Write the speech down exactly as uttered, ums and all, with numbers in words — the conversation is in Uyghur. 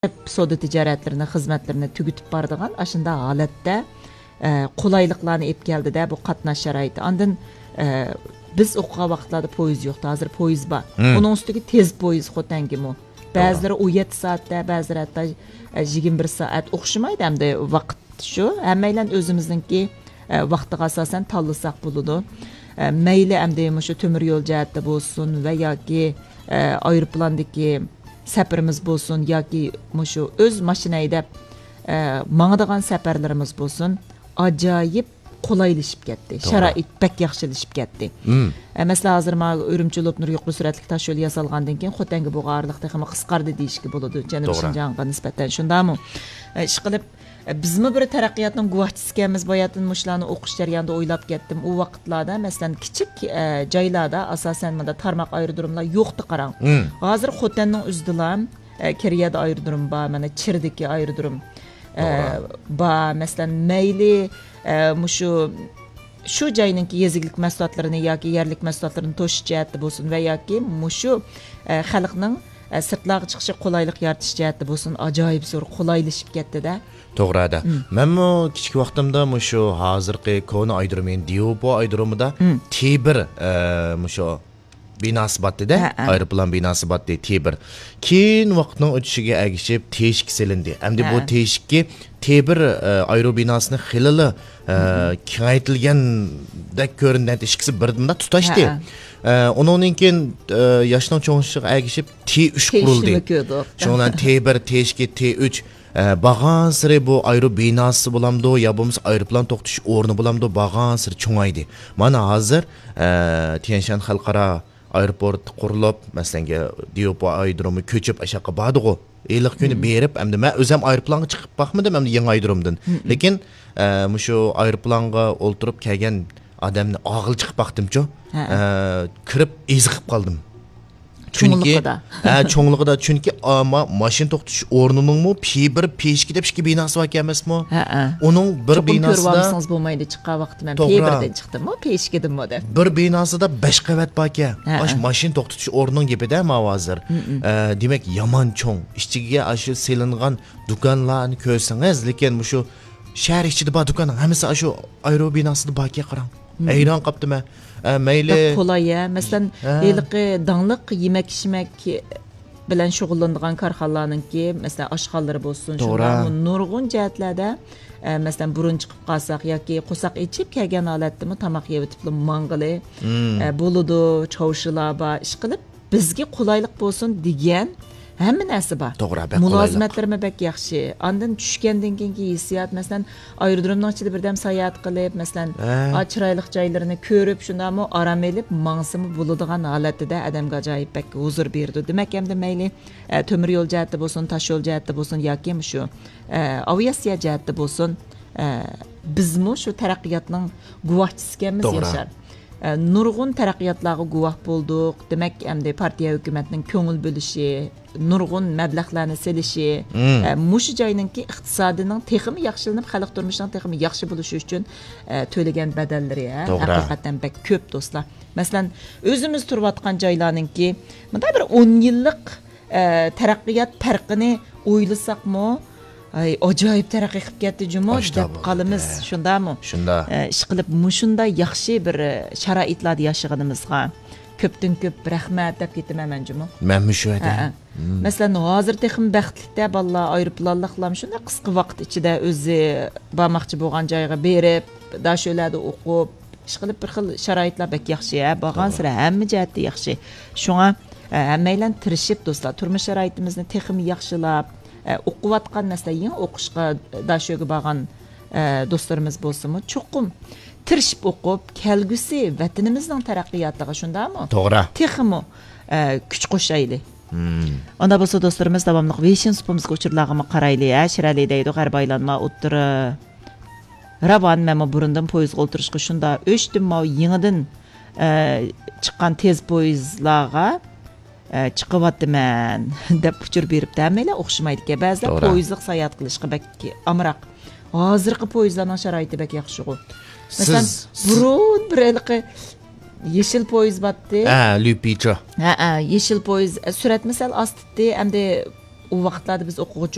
سودا تىجارەتلىرىنى، خىزمەتلىرىنى تۈگىتىپ بارىدىغان ئاشۇنداق ھالەتتە، ئە، قولايلىقلارنى ئېلىپ كەلدىدە، بۇ قاتناش شارائىتى. ئاندىن، ئە، بىز ئوقۇغان ۋاقىتلاردا پويىز يوقتى، ھازىر پويىز بار. مم. ئۇنىڭ ئۈستىگە تېز پويىز خوتەنگىمۇ. توغرا. بەزىلىرى ئون يەتتە سائەتتە، بەزىلىرى ھەتتا، ئە، يىگىرمە بىر سائەت ئوخشىمايدۇ ئەمدى ۋاقىت شۇ. ھەممەيلەن ئۆزىمىزنىڭكى، ئە، ۋاقتىغا ئاساسەن تاللىساق بولىدۇ. ئە، مەيلى ئەمدى مۇشۇ تۆمۈر يول جەھەتتە بولسۇن ۋە ياكى، ئە، ئايروپىلاندىكى سەپىرىمىز بولسۇن ياكى مۇشۇ ئۆز ماشىنا ھەيدەپ، ئە، ماڭىدىغان سەپەرلىرىمىز بولسۇن، ئاجايىپ قولايلىشىپ كەتتى. توغرا. شارائىت بەك ياخشىلىشىپ كەتتى. مم. ئە، مەسىلەن، ھازىر مانا ئۈرۈمچى لوپنۇر يۇقىرى سۈرئەتلىك تاش يولى ياسالغاندىن كېيىن خوتەنگە بولغان ئارىلىق تېخىمۇ قىسقاردى دېيىشكە بولىدۇ، جەنۇبىي توغرا. شىنجاڭغا نىسبەتەن. شۇنداقمۇ؟ ئە، ئىشقىلىپ، ئە، بىزمۇ بىر تەرەققىياتنىڭ گۇۋاھچىسىكەنمىز، باياتىن مۇشۇلارنى ئوقۇش جەريانىدا ئويلاپ كەتتىم. ئۇ ۋاقىتلاردا، مەسىلەن، كىچىك، ئە، جايلاردا، ئاساسەن، مۇنداق تارماق ئايرودروملار يوقتى، قاراڭ. مم. ھازىر خوتەننىڭ ئۆزىدىلا، ئە، كېرىيەدە ئايرودروم بار، مانا چىردىكى ئايرودروم، ئە، توغرا. بار. مەسىلەن، مەيلى، ئە، مۇشۇ، شۇ جاينىڭكى يېزا ئىگىلىك مەھسۇلاتلىرىنى ياكى يەرلىك مەھسۇلاتلىرىنى توشۇش جەھەتتە بولسۇن ۋە ياكى مۇشۇ، ئە، خەلقنىڭ، ئە، سىرتلارغا چىقىشىغا قولايلىق يارىتىش جەھەتتە بولسۇن، ئاجايىپ زور قولايلىشىپ كەتتىدە. توغرا ئەدە. مم. مەنمۇ كىچىك ۋاقتىمدا مۇشۇ ھازىرقى كونا ئايرودروم، يەنى ديۇپو ئايرودرومىدا مم. تى بىر، ئە، مۇشۇ بىناسى باتتى-دە، ھە، ھە. ئايروپىلان بىناسى باتتى، تى بىر. كېيىن ۋاقىتنىڭ ئۆتۈشىگە ئەگىشىپ تى ئىككى سېلىندى. ئەمدى بۇ ھە. تى ئىككى، تى بىر، ئە، ئايرو بىناسىنى خېلىلا، ئە، مم. كېڭەيتىلگەندەك كۆرۈندى. ئىككىسى بىر مۇنداق تۇتاشتى. ھە، ھە. ئە، ئۇنىڭدىن كېيىن، ئە، ياشنىڭ چوڭىيىشىغا ئەگىشىپ تى ئۈچ تى ئۈچنى قۇرۇلدى. كۆردۇق. شۇنىڭ بىلەن تى بىر، تى ئىككى، تى ئۈچ، ئە، بارغانسېرى بۇ ئايرو بىناسى بولامدۇ يا بولمىسا ئايروپىلان توختىتىش ئورنى بولامدۇ بارغانسېرى چوڭايدى. مانا ھازىر، ئە، تيەنشان خەلقئارا ئايروپورت قۇرۇلۇپ، مەسىلەن، ديۇپو ئايرودرومى كۆچۈپ ئاشاققا باردىغۇ. ھېلىقى كۈنى مم. بېرىپ، ئەمدى مەن ئۆزۈم ئايروپىلانغا چىقىپ باقمىدىم، ئەمدى يېڭى ئايرودرومدىن. مم. لېكىن، ئە، مۇشۇ ئايروپىلانغا ئولتۇرۇپ كەلگەن ئادەمنى ئاغىل چىقىپ باقتىمچۇ. ھە. ئە، كىرىپ ئېزىقىپ قالدىم. چۈنكى، چوڭلۇقىدا. ھە، چوڭلۇقىدا. چۈنكى، ئا، ما-، ماشىنا توختىتىش ئورنىنىڭمۇ پى بىر، پى ئىككى دەپ ئىككى بىناسى باركەن ئەمەسمۇ؟ ھە، ھە. ئۇنىڭ بىر چوقۇم كۆرۈپ بىناسىدا ئالمىسىڭىز بولمايدۇ، چىققان ۋاقتىدا مەن پى توغرا. بىردىن چىقتىممۇ، پى ئىككىدىنمۇ دەپ. بىر بىناسىدا بەش قەۋەت باركەن. ھە، ئاشۇ ھە. ماشىنا توختىتىش ئورنىنىڭ گېپىدە ماۋۇ ھازىر. مم، مم. ئە، دېمەك، يامان چوڭ. ئىچىگە ئاشۇ سېلىنغان دۇكانلارنى كۆرسىڭىز، لېكىن مۇشۇ شەھەر ئىچىدە بار دۇكاننىڭ ھەممىسى ئاشۇ ئايرو بىناسىدا باركەن، قاراڭ. مم. ھەيران قاپتىمەن. ئە، مەيلى. بەك قولاي، ھە. مەسىلەن، ھە. ھېلىقى داڭلىق يېمەك-ئىچمەك بىلەن شۇغۇللىنىدىغان كارخانىلارنىڭكى، مەسىلەن، ئاشخانىلىرى بولسۇن، توغرا. شۇنداقمۇ نۇرغۇن جەھەتلەردە، ئە، مەسىلەن، بۇرۇن چىقىپ قالساق ياكى قورساق ئېچىپ كەلگەن ھالەتتىمۇ تاماق يەۋېتىپلا ماڭغىلى، مم. ئە، بولىدۇ، چاۋشىلار بار، ئىشقىلىپ، بىزگە قولايلىق بولسۇن دېگەن ھەممە نەرسە بار. توغرا، بەك قولايلىق. مۇلازىمەتلىرىمۇ بەك ياخشى. ئاندىن چۈشكەندىن كېيىنكى ھېسسىيات، مەسىلەن، ئايرودرومنىڭ ئىچىدە بىردەم ساياھەت قىلىپ، مەسىلەن، ھە. ئا، چىرايلىق جايلىرىنى كۆرۈپ، شۇنداقمۇ ئارام ئېلىپ ماڭسىمۇ بولىدىغان ھالەتتە-دە، ئادەمگە ئاجايىپ بەك ھۇزۇر بېرىدۇ. دېمەك، ئەمدى مەيلى، ئە، تۆمۈر يول جەھەتتە بولسۇن، تاش يول جەھەتتە بولسۇن ياكى مۇشۇ، ئە، ئاۋىئاتسىيە جەھەتتە بولسۇن، ئە، بىزمۇ شۇ تەرەققىياتنىڭ گۇۋاھچىسىكەنمىز، توغرا. ياشار. ئە، نۇرغۇن تەرەققىياتلارغا گۇۋاھ بولدۇق. دېمەك، ئەمدى پارتىيە ھۆكۈمەتنىڭ كۆڭۈل بۆلۈشى، نۇرغۇن مەبلەغلەرنى سېلىشى، مم. ئە، مۇشۇ جاينىڭكى ئىقتىسادىنىڭ تېخىمۇ ياخشىلىنىپ، خەلق تۇرمۇشىنىڭ تېخىمۇ ياخشى بولۇشى ئۈچۈن، ئە، تۆلىگەن بەدەللىرى، ھە، توغرا. ھەقىقەتەن بەك كۆپ، دوستلار. مەسىلەن، ئۆزىمىز تۇرۇۋاتقان جايلارنىڭكى مۇنداق بىر ئون يىللىق، ئە، تەرەققىيات پەرقىنى ئويلىساقمۇ، ئاي، ئاجايىپ تەرەققىي قىلىپ كەتتى جۇمۇ، ئاشتا دەپ بولدى. قالىمىز، ھە. شۇنداقمۇ؟ شۇنداق. ئە، ئىشقىلىپ، مۇشۇنداق ياخشى بىر، ئە، شارائىتلاردا ياشىغىنىمىزغا كۆپتىن كۆپ رەھمەت دەپ كېتىمەن مەن جۇمۇ. مەنمۇ شۇ يەردە. ھە، ھە. مم. مەسىلەن، ھازىر تېخىمۇ بەختلىك-دە، بالىلار ئايروپىلانلىقلام شۇنداق قىسقا ۋاقىت ئىچىدە ئۆزى بارماقچى بولغان جايغا بېرىپ، داشۆلەدە ئوقۇپ، ئىشقىلىپ بىر خىل شارائىتلار بەك ياخشى، ھە، بارغانسېرى توغرا. ھەممە جەھەتتە ياخشى. شۇڭا، ئە، ھەممەيلەن تىرىشىپ، دوستلار، تۇرمۇش شارائىتىمىزنى تېخىمۇ ياخشىلاپ، ئە، ئوقۇۋاتقان، مەسىلەن، يېڭى ئوقۇشقا داشۆگە بارغان، ئە، دوستلىرىمىز بولسىمۇ، چوقۇم تىرىشىپ ئوقۇپ، كەلگۈسى ۋەتىنىمىزنىڭ تەرەققىياتىغا، شۇنداقمۇ؟ توغرا. تېخىمۇ، ئە، كۈچ قوشايلى. مم. ئۇنداق بولسا، دوستلىرىمىز، داۋاملىق ۋېيشىن سۇپىمىزغا، ئۇچۇرلارغىمۇ قارايلى، ھە، شىرئەلى دەيدۇ، غەربىي ئايلانما ئوتتۇرا راۋان، مەنمۇ بۇرۇندىن پويىزغا ئولتۇرۇشقا شۇنداق ئۆچتۈم، ماۋۇ يېڭىدىن، ئە، چىققان تېز پويىزلارغا، ئە، چىقىۋاتىمەن، دەپ ئۇچۇر بېرىپتۇ. ھەممەيلەن ئوخشىمايدىكەن. بەزىلەر توغرا. پويىزلىق ساياھەت قىلىشقا بەك ئامراق. ھازىرقى پويىزلارنىڭ شارائىتى بەك ياخشىغۇ. مەسىلەن، سىز، سىز بۇرۇن بىر ھېلىقى يېشىل پويىز باتتى. ھە، لۈپىچا. ھە، ھە، يېشىل پويىز، ئە، سۈرئەتمۇ سەل ئاستىتتى. ئەمدى ئۇ ۋاقىتلاردا بىز ئوقۇغۇچى